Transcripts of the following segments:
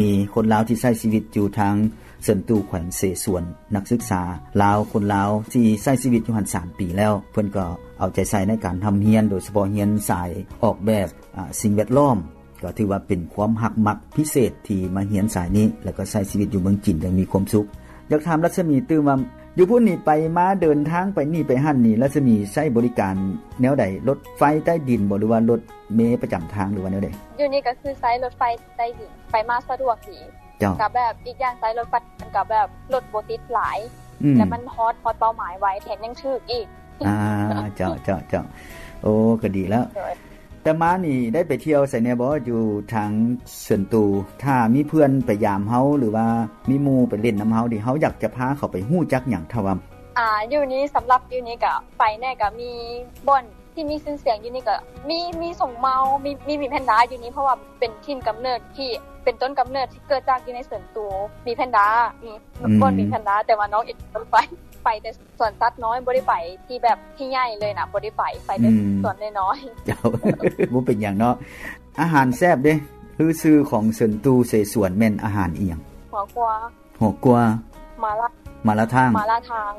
ມີຄົນລາວທີ່ໃຊ້ຊີວິດຢູ່ທາງເຊິນຕູ ແຂວງເສສວນ, ນັກສຶກສາລາວ ຄົນລາວທີ່ໃຊ້ຊີວິດຢູ່ຫັ້ນສາມປີແລ້ວ, ເພິ່ນກໍເອົາໃຈໃສ່ໃນການຮ່ຳຮຽນ, ໂດຍສະເພາະຮຽນສາຍອອກແບບ ອາ ສິ່ງແວດລ້ອມ. ກໍຖືວ່າເປັນຄວາມຮັກມັກພິເສດທີ່ມາຮຽນສາຍນີ້ ແລ້ວກໍໃຊ້ຊີວິດຢູ່ເມືອງຈີນຢ່າງມີຄວາມສຸກ. ຢາກຖາມລັດສະໝີຕື່ມວ່າ ຢູ່ພຸ້ນນີ້ໄປມາ ເດີນທາງໄປນີ້ໄປຫັ້ນນີ້ ລັດສະໝີໃຊ້ບໍລິການແນວໃດ? ລົດໄຟໃຕ້ດິນບໍ ຫຼືວ່າລົດເມປະຈຳທາງ ຫຼືວ່າແນວໃດ? ຢູ່ນີ້ກໍຄືໃຊ້ລົດໄຟໃຕ້ດິນ ໄປມາສະດວກດີ. ເຈົ້າ. ກໍແບບອີກຢ່າງໃຊ້ລົດໄຟມັນກໍແບບລົດບໍ່ຕິດຫຼາຍ ອືມ ແລ້ວມັນຮອດ ຮອດເປົ້າໝາຍໄວ ແຖມຍັງຖືກອີກ. ອ່າ ເຈົ້າ ເຈົ້າ ເຈົ້າ. ໂອ້ ກໍດີແລ້ວ. ໂດຍ. ແຕ່ມານີ້ໄດ້ໄປທ່ຽວໃສແດ່ບໍ່ ຢູ່ທາງເຊິນຕູ? ຖ້າມີເພື່ອນໄປຢາມເຮົາ ຫຼືວ່າມີໝູ່ໄປຫຼິ້ນນຳເຮົານີ້ ເຮົາຢາກຈະພາເຂົາໄປຮູ້ຈັກຫຍັງ? ຖ້າວ່າ ອ່າ ຢູ່ນີ້ ສຳລັບຢູ່ນີ້ກໍໄປແດ່ ກໍມີບ່ອນທີ່ມີຊື່ສຽງຢູ່ນີ້ ກໍມີ ມີສົງເມົາ ມີ ມີ ມີແພນດ້າຢູ່ນີ້ ເພາະວ່າເປັນຖິ່ນກຳເນີດທີ່ ເປັນຕົ້ນກຳເນີດທີ່ເກີດຈາກຢູ່ໃນເຊິນຕູ ມີແພນດ້າ ມີ ອືມ ບ່ອນມີແພນດ້າ ແຕ່ວ່ານ້ອງເອງບໍ່ໄປ ໄປແຕ່ ສວນສັດນ້ອຍ ບໍ່ໄດ້ໄປທີ່ແບບທີ່ໃຫຍ່ເລີຍນະ ບໍ່ໄດ້ໄປ ໄປແຕ່ ອືມ ສວນນ້ອຍໆ. ເຈົ້າ ບໍ່ເປັນຫຍັງເນາະ. ອາຫານແຊບເດ້ ຫຼືຊື່ຂອງເຊິນຕູເສສວນແມ່ນອາຫານອີ່ຫຍັງ? ຫົວກົວ ຫົວກົວ ໝາລາ ໝາລາທາງ ໝາລາທາງ.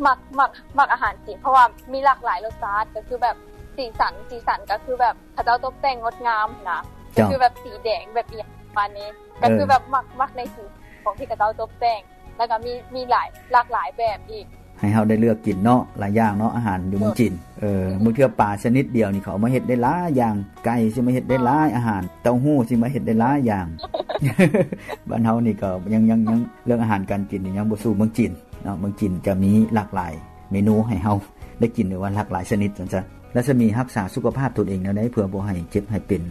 ມັກ ມັກ ມັກອາຫານຈີນ ເພາະວ່າມີຫຼາກຫຼາຍລົດຊາດ ກໍຄືແບບສີສັນ ສີສັນກໍຄືແບບເຂົາເຈົ້າຕົບແຕ່ງງົດງາມນະ ເຈົ້າ ກໍຄືແບບສີແດງ ແບບອີ່ຫຍັງປະມານນີ້ ເອີ ກໍຄືແບບມັກ ມັກໃນສີຂອງທີ່ເຂົາເຈົ້າຕົບແຕ່ງ. ແລ້ວກໍມີ ມີຫຼາຍ ຫຼາກຫຼາຍແບບອີກ ໃຫ້ເຮົາໄດ້ເລືອກກິນເນາະ ຫຼາຍຢ່າງເນາະ ອາຫານຢູ່ເມືອງຈີນ. ເອີ ບາງເທື່ອປາຊະນິດດຽວນີ້ ເຂົາເອົາມາເຮັດໄດ້ຫຼາຍຢ່າງ ໄກ່ຊິມາເຮັດໄດ້ຫຼາຍ ອາຫານເຕົ້າຫູ້ຊິມາເຮັດໄດ້ຫຼາຍຢ່າງ. ບ້ານເຮົານີ້ກໍຍັງ ຍັງ ຍັງ ເລື່ອງອາຫານການກິນນີ້ຍັງບໍ່ສູ້ເມືອງຈີນເນາະ. ເມືອງຈີນຈະມີຫຼາກຫຼາຍເມນູໃຫ້ເຮົາໄດ້ກິນ ຫຼືວ່າຫຼາກຫຼາຍຊະນິດ ວ່າຊັ້ນຊະ. ລັດສະໝີຮັກສາສຸຂະພາບຕົນເອງແນວໃດ ເພື່ອບໍ່ໃຫ້ເຈັບໃຫ້ເປັນ?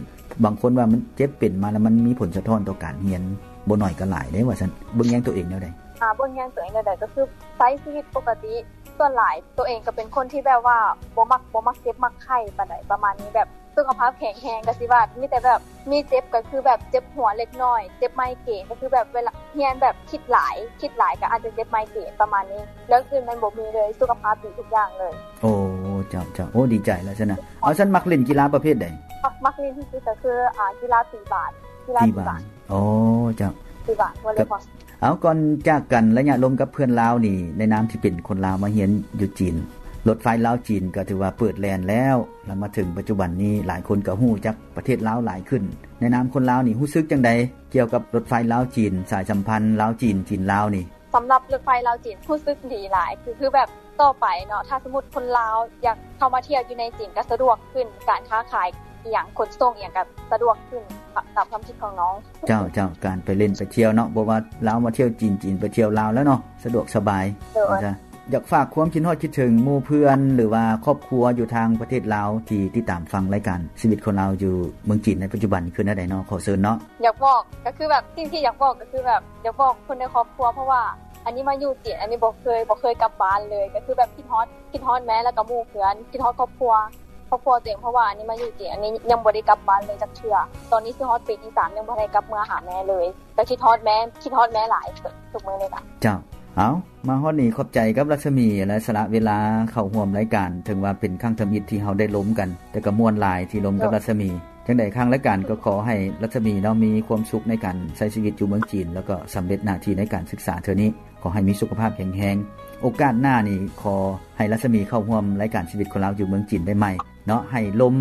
ບາງຄົນວ່າມັນເຈັບເປັນມາແລ້ວ ມັນມີຜົນສະທ້ອນຕໍ່ການຮຽນ ບໍ່ໜ້ອຍກໍຫຼາຍເດ້ ວ່າຊັ້ນ. ເບິ່ງແຍງຕົວເອງແນວໃດ? ອ່າ ເບິ່ງແຍງຕົວເອງແນວໃດ ກໍຄືໃຊ້ຊີວິດປົກກະຕິ. ສ່ວນຫຼາຍຕົວເອງກໍເປັນຄົນທີ່ແບບວ່າບໍ່ມັກ ບໍ່ມັກເຈັບມັກໄຂ້ປານໃດ ປະມານນີ້. ແບບສຸຂະພາບແຂງແຮງ ກໍຊິວ່າມີແຕ່ແບບ ມີເຈັບກໍຄືແບບເຈັບຫົວເລັກນ້ອຍ ເຈັບໄມເກຣນ ກໍຄືແບບເວລາຮຽນແບບຄິດຫຼາຍ ຄິດຫຼາຍກໍອາດຈະເຈັບໄມເກຣນປະມານນີ້. ເລື່ອງອື່ນມັນບໍ່ມີເລີຍ ສຸຂະພາບດີທຸກຢ່າງເລີຍ. ໂອ້ ເຈົ້າ ເຈົ້າ. ໂອ້ ດີໃຈແລ້ວຊັ້ນນະ. ເອົາ ຊັ້ນມັກຫຼິ້ນກິລາປະເພດໃດ? ມັກ ມັກຫຼິ້ນທີ່ສຸດກໍຄື ອ່າ ກິລາຕີບານ ກິລາຕີບານ. ໂອ້ ເຈົ້າ. ຕີບານ ວໍເລີບອນ. ເອົາ ກ່ອນຈາກກັນ ໄລຍະລົມກັບເພື່ອນລາວນີ້ ໃນນາມທີ່ເປັນຄົນລາວມາຮຽນຢູ່ຈີນ ລົດໄຟລາວຈີນກໍຖືວ່າເປີດແລ່ນແລ້ວ ແລ້ວມາເຖິງປັດຈຸບັນນີ້ ຫຼາຍຄົນກໍຮູ້ຈັກປະເທດລາວຫຼາຍຂຶ້ນ. ໃນນາມຄົນລາວນີ້ ຮູ້ສຶກຈັ່ງໃດກ່ຽວກັບລົດໄຟລາວຈີນ ສາຍສຳພັນລາວຈີນ ຈີນລາວນີ້? ສຳລັບລົດໄຟລາວຈີນ ຮູ້ສຶກດີຫຼາຍ ຄື ຄືແບບຕໍ່ໄປເນາະ ຖ້າສົມມຸດຄົນລາວຢາກເຂົ້າມາທ່ຽວຢູ່ໃນຈີນກໍສະດວກຂຶ້ນ ການຄ້າຂາຍອີ່ຫຍັງ ຂົນສົ່ງອີ່ຫຍັງກໍສະດວກຂຶ້ນ ຕາມຄວາມຄິດຂອງນ້ອງ. ເຈົ້າ ເຈົ້າ. ການໄປຫຼິ້ນໄປທ່ຽວເນາະ ບໍ່ວ່າລາວມາທ່ຽວຈີນ ຈີນໄປທ່ຽວລາວແລ້ວເນາະ ສະດວກສະບາຍ. ໂດຍ. ຢາກຝາກຄວາມຄິດຮອດຄິດເຖິງໝູ່ເພື່ອນ ຫຼືວ່າຄອບຄົວຢູ່ທາງປະເທດລາວ ທີ່ຕິດຕາມຟັງລາຍການຊີວິດຄົນລາວຢູ່ເມືອງຈີນໃນປັດຈຸບັນ ຄືແນວໃດເນາະ? ຂໍເຊີນເນາະ. ຢາກບອກ ກໍຄືແບບ ສິ່ງທີ່ຢາກບອກກໍຄືແບບ ຢາກບອກຄົນໃນຄອບຄົວ ເພາະວ່າອັນນີ້ມາຢູ່ຈີນ ອັນນີ້ບໍ່ເຄີຍ ບໍ່ເຄີຍກັບບ້ານເລີຍ ກໍຄືແບບຄິດຮອດ ຄິດຮອດແມ່ ແລ້ວກໍໝູ່ເພື່ອນ ຄິດຮອດຄອບຄົວ ຄອບຄົວຕົວເອງ ເພາະວ່າອັນນີ້ມາຢູ່ຈີນ ອັນນີ້ຍັງບໍ່ໄດ້ກັບບ້ານເລີຍຈັກເທື່ອ. ຕອນນີ້ຊິຮອດປີທີສາມ ຍັງບໍ່ໄດ້ກັບເມືອຫາແມ່ເລີຍ ກໍຄິດຮອດແມ່ ຄິດຮອດແມ່ຫຼາຍທຸກມື້ນີ້ລະ. ເຈົ້າ. ເອົາ ມາຮອດນີ້ ຂອບໃຈກັບລັດສະໝີ ແລະ ສະຫຼະເວລາເຂົ້າຮ່ວມລາຍການ ເຖິງວ່າເປັນຄັ້ງທຳອິດທີ່ເຮົາໄດ້ລົມກັນ ແຕ່ກໍມ່ວນຫຼາຍທີ່ລົມກັບລັດສະໝີ. ຈັ່ງໃດທາງລາຍການກໍຂໍໃຫ້ລັດສະໝີເນາະ ມີຄວາມສຸກໃນການໃຊ້ຊີວິດຢູ່ເມືອງຈີນ ແລ້ວກໍສຳເລັດໜ້າທີ່ໃນການສຶກສາເທື່ອນີ້. ຂໍໃຫ້ມີສຸຂະພາບແຂງແຮງ. ໂອກາດໜ້ານີ້ ຂໍໃຫ້ລັດສະໝີເຂົ້າຮ່ວມລາຍການຊີວິດຄົນລາວຢູ່ເມືອງຈີນໄດ້ໃໝ່ເນາະ ໃຫ້ລົມ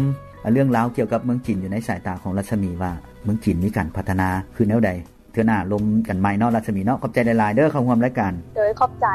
ເລື່ອງລາວກ່ຽວກັບເມືອງຈີນ ຢູ່ໃນສາຍຕາຂອງລັດສະໝີວ່າ ເມືອງຈີນມີການພັດທະນາຄືແນວໃດ. ເທື່ອໜ້າລົມກັນໃໝ່ເນາະ ລັດສະໝີເນາະ. ຂອບໃຈຫຼາຍໆເດີ ເຂົ້າຮ່ວມລາຍການ. ໂດຍ ຂອບໃຈ.